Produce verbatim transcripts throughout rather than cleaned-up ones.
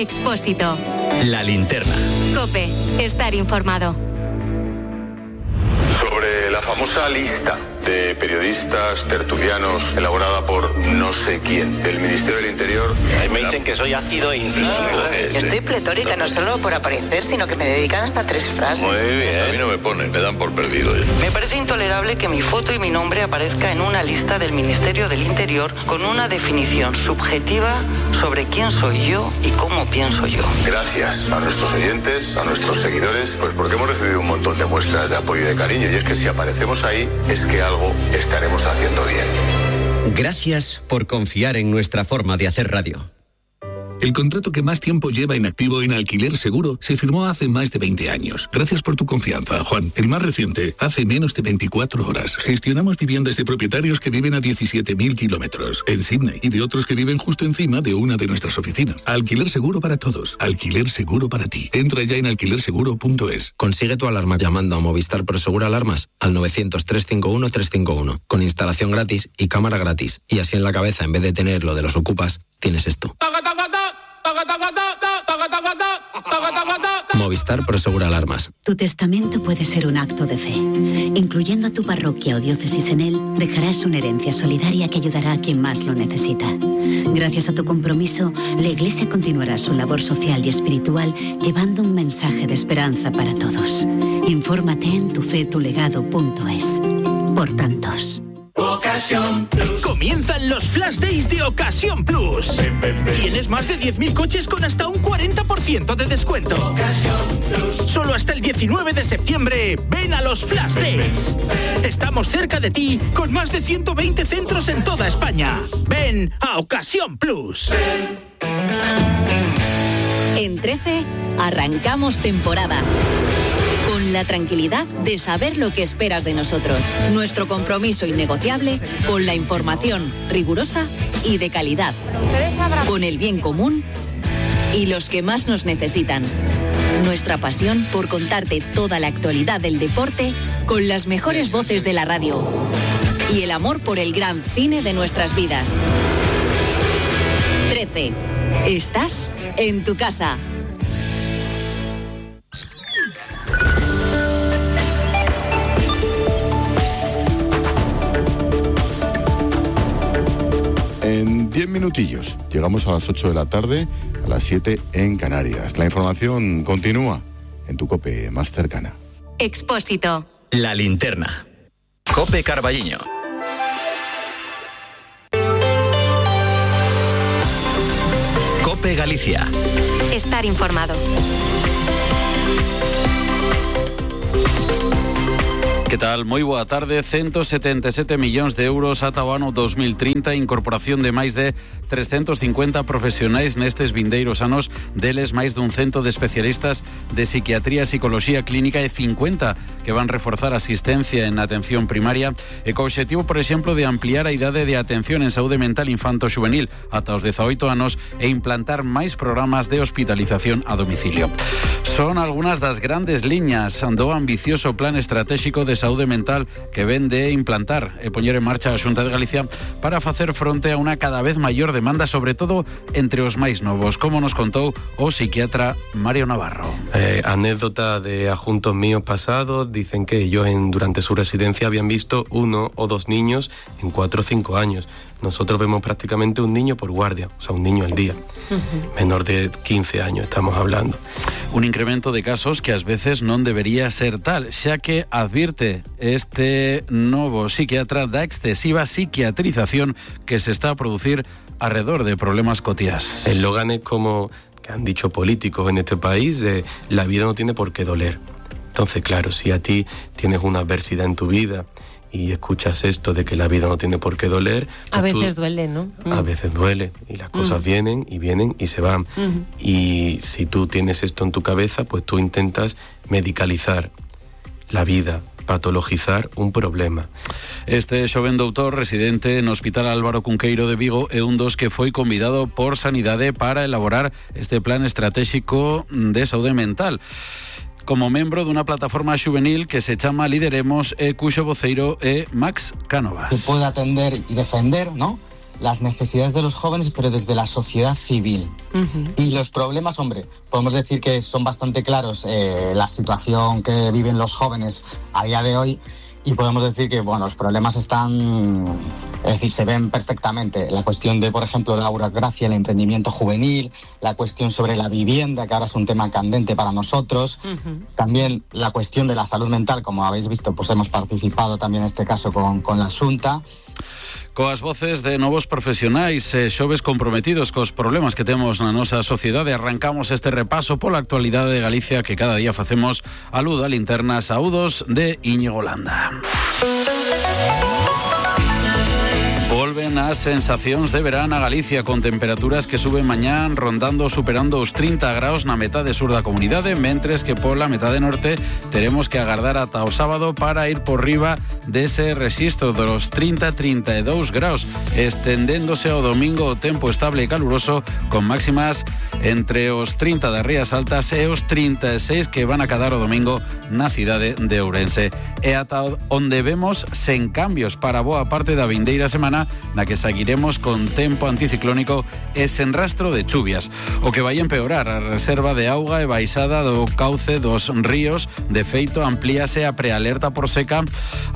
Expósito. La Linterna. COPE. Estar informado. Sobre la famosa lista de periodistas tertulianos elaborada por no sé quién del Ministerio del Interior. Me dicen que soy ácido e incluso... Estoy pletórica, no solo por aparecer, sino que me dedican hasta tres frases. Muy bien. A mí no me ponen, me dan por perdido. Me parece intolerable que mi foto y mi nombre aparezca en una lista del Ministerio del Interior con una definición subjetiva sobre quién soy yo y cómo pienso yo. Gracias a nuestros oyentes, a nuestros seguidores, pues porque hemos recibido un montón de muestras de apoyo y de cariño. Y es que si aparecemos ahí, es que algo estaremos haciendo bien. Gracias por confiar en nuestra forma de hacer radio. El contrato que más tiempo lleva inactivo en Alquiler Seguro se firmó hace más de veinte años. Gracias por tu confianza, Juan. El más reciente, hace menos de veinticuatro horas. Gestionamos viviendas de propietarios que viven a diecisiete mil kilómetros en Sydney y de otros que viven justo encima de una de nuestras oficinas. Alquiler Seguro para todos. Alquiler Seguro para ti. Entra ya en alquiler seguro punto es. Consigue tu alarma llamando a Movistar Prosegur Alarmas al novecientos, trescientos cincuenta y uno, trescientos cincuenta y uno con instalación gratis y cámara gratis. Y así en la cabeza, en vez de tener lo de los ocupas, tienes esto. Movistar Prosegur Alarmas. Tu testamento puede ser un acto de fe. Incluyendo a tu parroquia o diócesis en él, dejarás una herencia solidaria que ayudará a quien más lo necesita. Gracias a tu compromiso, la Iglesia continuará su labor social y espiritual llevando un mensaje de esperanza para todos. Infórmate en tufetulegado punto es. Por tantos. Ocasión Plus. Comienzan los Flash Days de Ocasión Plus. Ven, ven, ven. Tienes más de diez mil coches con hasta un cuarenta por ciento de descuento. Ocasión Plus. Solo hasta el diecinueve de septiembre. Ven a los Flash Days. Ven, ven. Estamos cerca de ti con más de ciento veinte centros en toda España. Ven a Ocasión Plus. Ven. En trece, arrancamos temporada. Con la tranquilidad de saber lo que esperas de nosotros. Nuestro compromiso innegociable con la información rigurosa y de calidad. Con el bien común y los que más nos necesitan. Nuestra pasión por contarte toda la actualidad del deporte con las mejores voces de la radio. Y el amor por el gran cine de nuestras vidas. trece. Estás en tu casa. En diez minutillos llegamos a las ocho de la tarde, a las siete en Canarias. La información continúa en tu COPE más cercana. Expósito. La Linterna. COPE Carballiño. COPE Galicia. Estar informado. Que tal? Moi boa tarde. ciento setenta e sete millóns de euros ata o ano dos mil trinta, incorporación de máis de trescentos cincuenta profesionais nestes vindeiros anos, deles máis dun cento de especialistas de psiquiatría e psicoloxía clínica e cincuenta que van reforzar a asistencia en atención primaria e co obxectivo, por exemplo, de ampliar a idade de atención en saúde mental infanto-xuvenil ata os dezaoito anos e implantar máis programas de hospitalización a domicilio. Son algunhas das grandes liñas do ambicioso plan estratégico de saúde mental que ven de implantar e poñer en marcha a Xunta de Galicia para facer fronte a unha cada vez maior demanda, sobre todo entre os máis novos, como nos contou o psiquiatra Mario Navarro. Eh, anécdota de adjuntos míos pasados, dicen que ellos en, durante su residencia habían visto uno o dos niños en cuatro o cinco años. Nosotros vemos prácticamente un niño por guardia, o sea, un niño al día. Uh-huh. Menor de quince años estamos hablando. Un incremento de casos que ás veces non debería ser tal, xa que advirte este novo psiquiatra da excesiva psiquiatrización que se está a producir alrededor de problemas cotiás. El eslogan es como que han dicho políticos en este país, de la vida no tiene por qué doler. Entonces, claro, si a ti tienes una adversidad en tu vida y escuchas esto de que la vida no tiene por qué doler... Pues a veces tú, duele, ¿no? A mm. veces duele, y las cosas mm. vienen y vienen y se van. Mm. Y si tú tienes esto en tu cabeza, pues tú intentas medicalizar la vida, patologizar un problema. Este xoven doutor residente no Hospital Álvaro Cunqueiro de Vigo é un dos que foi convidado por Sanidade para elaborar este plan estratégico de saúde mental. Como membro dunha plataforma xuvenil que se chama Lideremos e cuxo voceiro é Max Cánovas. Que pode atender e defender, ¿no? las necesidades de los jóvenes, pero desde la sociedad civil. Uh-huh. Y los problemas, hombre, podemos decir que son bastante claros, eh, la situación que viven los jóvenes a día de hoy, y podemos decir que, bueno, los problemas están, es decir, se ven perfectamente. La cuestión de, por ejemplo, la burocracia, el emprendimiento juvenil, la cuestión sobre la vivienda, que ahora es un tema candente para nosotros. Uh-huh. También la cuestión de la salud mental, como habéis visto, pues hemos participado también en este caso con, con la Xunta. Coas voces de novos profesionais e xoves comprometidos cos problemas que temos na nosa sociedade, arrancamos este repaso pola actualidade de Galicia que cada día facemos a luz da linterna. Saúdos de Íñigo Landa. Volven as sensacións de verán a Galicia con temperaturas que suben mañán rondando superando os trinta graus na metade sur da comunidade, mentres que pola metade norte teremos que agardar ata o sábado para ir por riba dese rexistro dos trinta a trinta e dous graus, estendéndose ao domingo o tempo estable e caluroso con máximas entre os trinta das Rías Altas e os trinta e seis que van a cadar o domingo na cidade de Ourense. E ata onde vemos sen cambios para boa parte da vindeira semana na que seguiremos con tempo anticiclónico e sen rastro de chuvias. O que vai empeorar a reserva de auga e baixada do cauce dos ríos. De feito, amplíase a prealerta por seca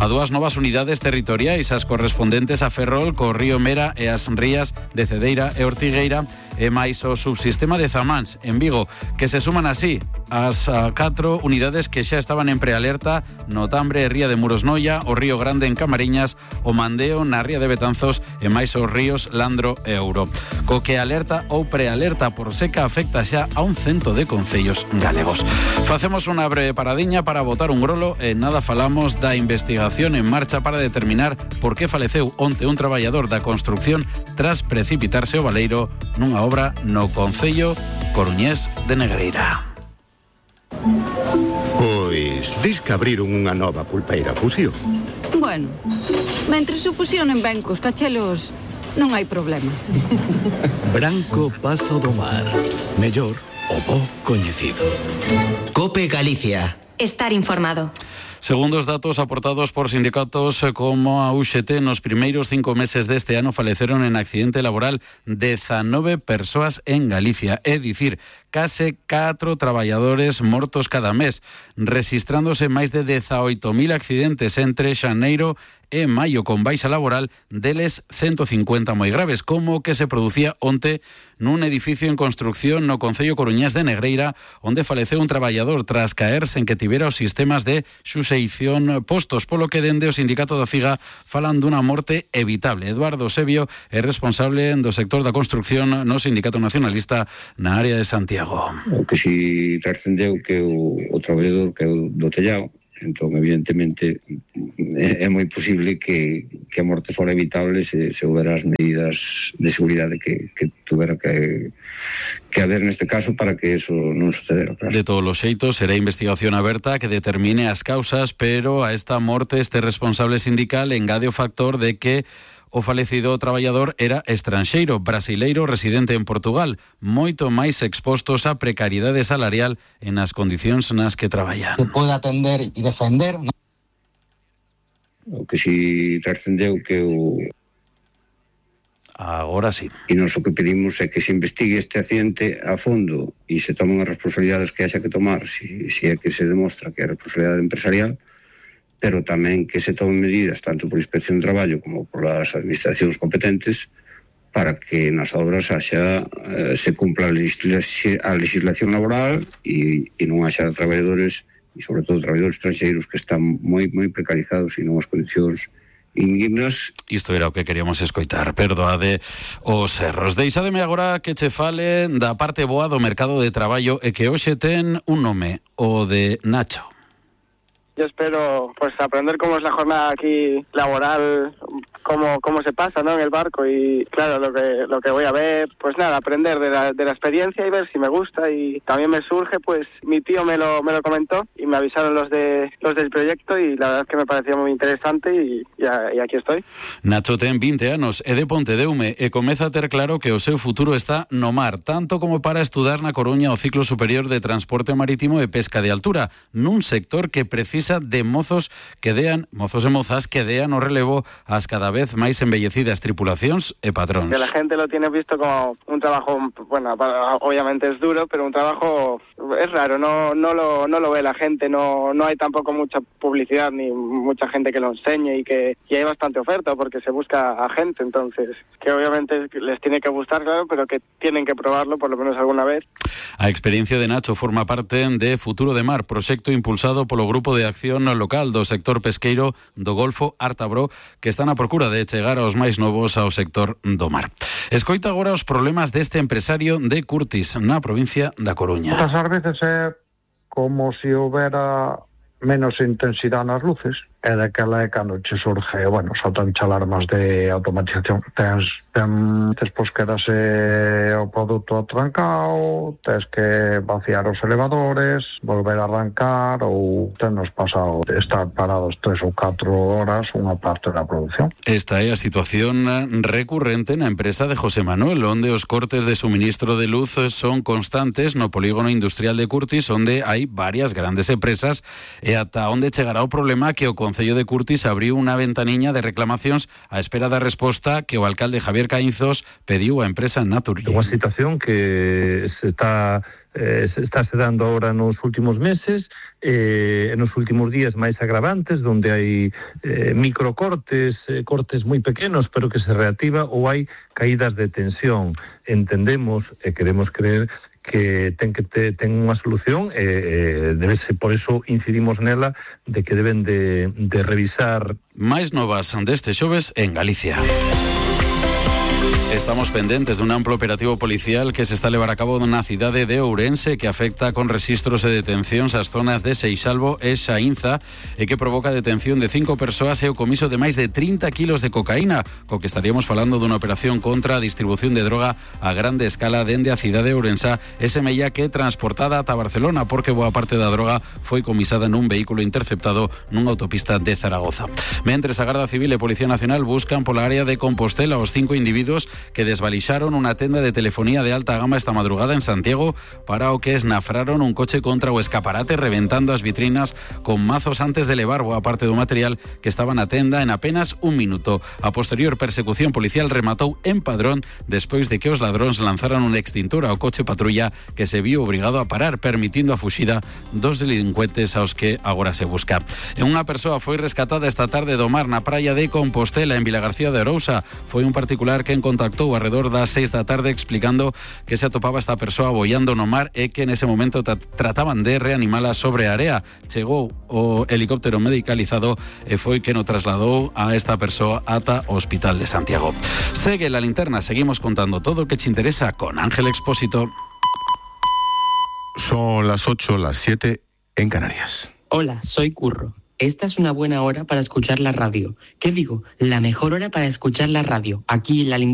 a dúas novas unidades territoriais, as correspondentes a Ferrol, co río Mera e as rías de Cedeira e Ortigueira, e máis o subsistema de Zamáns en Vigo, que se suman así as catro unidades que xa estaban en prealerta no Tambre e Ría de Murosnoia, o Río Grande en Camariñas, o Mandeo na Ría de Betanzos e máis os ríos Landro e Ouro. Co que alerta ou prealerta por seca afecta xa a un cento de concellos galegos. Facemos unha breve paradiña para botar un grolo e nada falamos da investigación en marcha para determinar por que faleceu onte un traballador da construcción tras precipitarse o baleiro nunha obra no concello coruñés de Negreira. Pois, dis que abriron unha nova pulpeira Fusión. Bueno, mentres se fusionen ben cos cachelos, non hai problema. Branco Pazo do Mar. Mellor o bo coñecido. Cope Galicia. Estar informado. Segundo os datos aportados por sindicatos como a U X T, nos primeiros cinco meses deste ano faleceron en accidente laboral dezanove persoas en Galicia, é dicir, case catro traballadores mortos cada mes, rexistrándose máis de dezaoito mil accidentes entre xaneiro e maio con baixa laboral, deles ciento cincuenta moi graves, como que se producía onte nun edificio en construcción no concello coruñés de Negreira, onde faleceu un traballador tras caerse en que tivera os sistemas de xuseición postos, polo que dende o sindicato da Figa falan dunha morte evitable. Eduardo Sebio é responsable do sector da construcción no Sindicato Nacionalista na área de Santiago. O que si trascendeu que o, o traballador que é o do tellado, entón evidentemente é, é moi posible que, que a morte fora evitable se, se houbera as medidas de seguridade que, que tuvera que, que haber neste caso para que eso non sucedera. Claro. De todos os xeitos, será investigación aberta que determine as causas, pero a esta morte este responsable sindical engade o factor de que o falecido traballador era estranxeiro, brasileiro residente en Portugal, moito máis expostos á precariedade salarial en as condicións nas que traballan. Se pode atender e defender, ¿no? O que si trascendeu que o... Agora sí. E nós o que pedimos é que se investigue este accidente a fondo e se tomen as responsabilidades que haxa que tomar, si, si é que se demostra que é responsabilidade empresarial, pero tamén que se tomen medidas tanto por Inspección de Traballo como por as administracións competentes para que nas obras haxa, eh, se cumpla a, legisla- a legislación laboral e, e non haxa traballadores e sobre todo traballadores estranxeiros que están moi moi precarizados e non as condicións indignas. Isto era o que queríamos escoitar, perdoade os erros. Deixademe agora que che fale da parte boa do mercado de traballo e que hoxe ten un nome, o de Nacho. Yo espero pues aprender cómo es la jornada aquí laboral, cómo cómo se pasa, ¿no?, en el barco, y claro, lo que lo que voy a ver, pues nada, aprender de la, de la experiencia y ver si me gusta. Y también me surge, pues mi tío me lo me lo comentó y me avisaron los de los del proyecto y la verdad es que me pareció muy interesante y, y, y aquí estoy. Nacho ten vinte anos, é de Pontedeume e comeza a ter claro que o seu futuro está no mar, tanto como para estudar na Coruña o ciclo superior de Transporte Marítimo e Pesca de Altura, nun sector que precisa precisa de mozos que dean, mozos e mozas que dean o relevo ás cada vez máis embellecidas tripulacións e patróns. Que la gente lo tiene visto como un trabajo, bueno, obviamente es duro, pero un trabajo es raro, no no lo no lo ve la gente, no no hay tampoco mucha publicidad ni mucha gente que lo enseñe y que y hay bastante oferta porque se busca a gente, entonces que obviamente les tiene que gustar, claro, pero que tienen que probarlo por lo menos alguna vez. A experiencia de Nacho forma parte de Futuro de Mar, proxecto impulsado polo Grupo de Acción Local do sector pesqueiro do Golfo Ártabro, que están a procura de chegar aos máis novos ao sector do mar. Escoita agora os problemas deste empresario de Curtis, na provincia da Coruña. Muchas veces é como se houbera menos intensidade nas luces, e daquela é cando che surge, bueno, saltan che alarmas de automatización. Tens, ten, despois quedase o produto atrancado, tens que vaciar os elevadores, volver a arrancar, ou tenos pasado de estar parados tres ou catro horas unha parte da produción. Esta é a situación recurrente na empresa de José Manuel, onde os cortes de suministro de luz son constantes no polígono industrial de Curtis, onde hai varias grandes empresas, e ata onde chegará o problema que o Concello de Curtis abriu unha ventaniña de reclamacións á espera da resposta que o alcalde Javier Caínzos pediu á empresa Naturgy. Unha situación que se está eh, se está se dando ahora nos últimos meses, eh, nos últimos días máis agravantes, onde hai eh, microcortes, eh, cortes moi pequenos, pero que se reactiva, ou hai caídas de tensión. Entendemos e queremos creer que ten que te, ten unha solución e eh, debe ser, por eso incidimos nela, de que deben de, de revisar. Máis novas deste xoves en Galicia. Estamos pendentes dun amplo operativo policial que se está a levar a cabo na cidade de Ourense, que afecta con rexistros e detencións ás zonas de Seixalbo e Xaínza, e que provoca a detención de cinco persoas e o comiso de máis de trinta kilos de cocaína, co que estaríamos falando dunha operación contra a distribución de droga a grande escala dende a cidade de Ourense, e semella que transportada ata Barcelona, porque boa parte da droga foi comisada nun vehículo interceptado nunha autopista de Zaragoza. Mentres a Garda Civil e Policía Nacional buscan pola área de Compostela os cinco individuos que desvalixaron unha tenda de telefonía de alta gama esta madrugada en Santiago, para o que esnafraron un coche contra o escaparate, reventando as vitrinas con mazos antes de levar boa parte do material que estaba na tenda en apenas un minuto. A posterior persecución policial rematou en Padrón despois de que os ladróns lanzaran un extintor ao coche patrulla, que se viu obrigado a parar, permitindo a fuxida dos delincuentes aos que agora se busca. E unha persoa foi rescatada esta tarde do mar na praia de Compostela, en Vilagarcía de Arousa. Foi un particular que en contactou alrededor das seis da tarde explicando que se atopaba esta persoa boiando no mar e que nese momento tra- trataban de reanimala sobre a area. Chegou o helicóptero medicalizado e foi que no trasladou a esta persoa ata o Hospital de Santiago. Segue la linterna, seguimos contando todo o que te interesa con Ángel Expósito. Son las ocho, las siete en Canarias. Hola, soy Curro. Esta es una buena hora para escuchar la radio. ¿Qué digo? La mejor hora para escuchar la radio, aquí en la linterna.